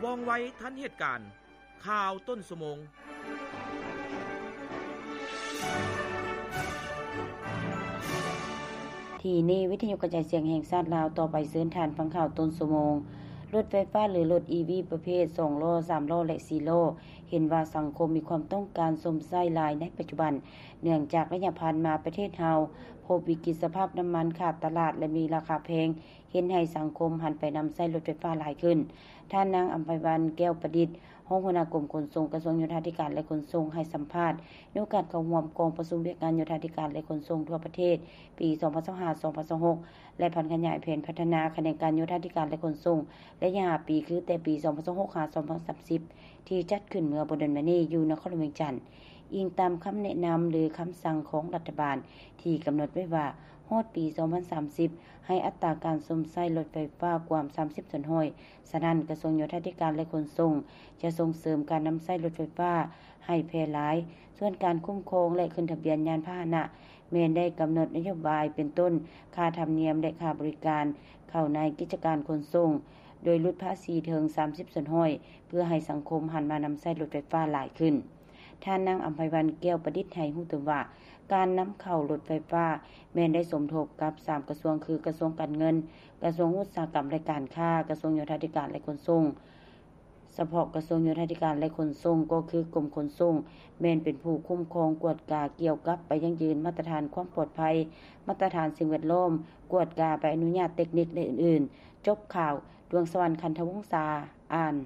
ວ່ອງໄວທັນເຫດການ. ຂ່າວຕົ້ນຊົ່ວໂມງ. ທີ່ນີ້ ວິທະຍຸກະຈາຍສຽງແຫ່ງຊາດລາວ. ຕໍ່ໄປເຊີນທ່ານຟັງຂ່າວຕົ້ນຊົ່ວໂມງ. ລົດໄຟຟ້າ ຫຼື ລົດ ອີ ວີ ປະເພດສອງລໍ້, ສາມລໍ້ ແລະ ສີ່ລໍ້ ເຫັນວ່າສັງຄົມມີຄວາມຕ້ອງການຊົມໃຊ້ຫຼາຍໃນປັດຈຸບັນ, ເນື່ອງຈາກໄລຍະຜ່ານມາປະເທດເຮົາພົບວິກິດສະພາບນ້ຳມັນຂາດຕະຫຼາດ ແລະ ມີລາຄາແພງ, ເຮັດໃຫ້ສັງຄົມຫັນໄປນຳໃຊ້ລົດໄຟຟ້າຫຼາຍຂຶ້ນ. ທ່ານນາງ ອຳໄພວັນ ແກ້ວປະດິດ ຮອງຫົວໜ້າກົມຂົນສົ່ງ ກະຊວງໂຍທາທິການ ແລະ ຂົນສົ່ງ ໃຫ້ສຳພາດໃນໂອກາດເຂົ້າຮ່ວມກອງປະຊຸມວຽກງານໂຍທາທິການ ແລະ ຂົນສົ່ງທົ່ວປະເທດ ປີສອງພັນຊາວຫ້າ ສອງພັນຊາວຫົກ ແລະ ຜັນຂະຫຍາຍແຜນພັດທະນາຂະແໜງການໂຍທາທິການ ແລະ ຂົນສົ່ງ ໄລຍະຫ້າປີ ຄືແຕ່ປີສອງພັນຊາວຫົກ ຫາ ສອງພັນສາມສິບ ທີ່ຈັດຂຶ້ນເມື່ອບໍ່ດົນມານີ້ຢູ່ນະຄອນຫຼວງວຽງຈັນ. ອີງຕາມຄຳແນະນຳ ຫຼື ຄຳສັ່ງຂອງລັດຖະບານ ທີ່ກຳນົດໄວ້ວ່າ ຮອດປີສອງພັນສາມສິບ ໃຫ້ອັດຕາການຊົມໃຊ້ລົດໄຟຟ້າກວມສາມສິບສ່ວນຮ້ອຍ. ສະນັ້ນ ກະຊວງໂຍທາທິການ ແລະ ຂົນສົ່ງ ຈະສົ່ງເສີມການນຳໃຊ້ລົດໄຟຟ້າໃຫ້ແຜ່ຫຼາຍ. ສ່ວນການຄຸ້ມຄອງ ແລະ ຂຶ້ນທະບຽນຍານພາຫະນະ ແມ່ນໄດ້ກຳນົດນະໂຍບາຍ ເປັນຕົ້ນ ຄ່າທຳນຽມ ແລະ ຄ່າບໍລິການເຂົ້າໃນກິດຈະການຂົນສົ່ງ ໂດຍຫຼຸດພາສີເຖິງສາມສິບສ່ວນຮ້ອຍ ເພື່ອໃຫ້ສັງຄົມຫັນມານຳໃຊ້ລົດໄຟຟ້າຫຼາຍຂຶ້ນ. ທ່ານນາງ ອຳໄພວັນ ແກ້ວປະດິດ ໃຫ້ຮູ້ຕື່ມວ່າ ການນຳເຂົ້າລົດໄຟຟ້າແມ່ນໄດ້ສົມທົບກັບສາມກະຊວງ ຄື ກະຊວງການເງິນ, ກະຊວງອຸດສາຫະກຳ ແລະ ການຄ້າ, ກະຊວງໂຍທາທິການ ແລະ ຂົນສົ່ງ. ສະເພາະກະຊວງໂຍທາທິການ ແລະ ຂົນສົ່ງ ກໍຄືກົມຂົນສົ່ງ ແມ່ນເປັນຜູ້ຄຸ້ມຄອງກວດກາກ່ຽວກັບໄປຢັ້ງຢືນມາດຕະຖານຄວາມປອດໄພ, ມາດຕະຖານສິ່ງແວດລ້ອມ, ກວດກາໃບອະນຸຍາດເຕັກນິກ ແລະ ອື່ນໆ. ຈົບຂ່າວ. ດວງສະຫວັນ ຄັນທະວົງສາ ອ່ານ.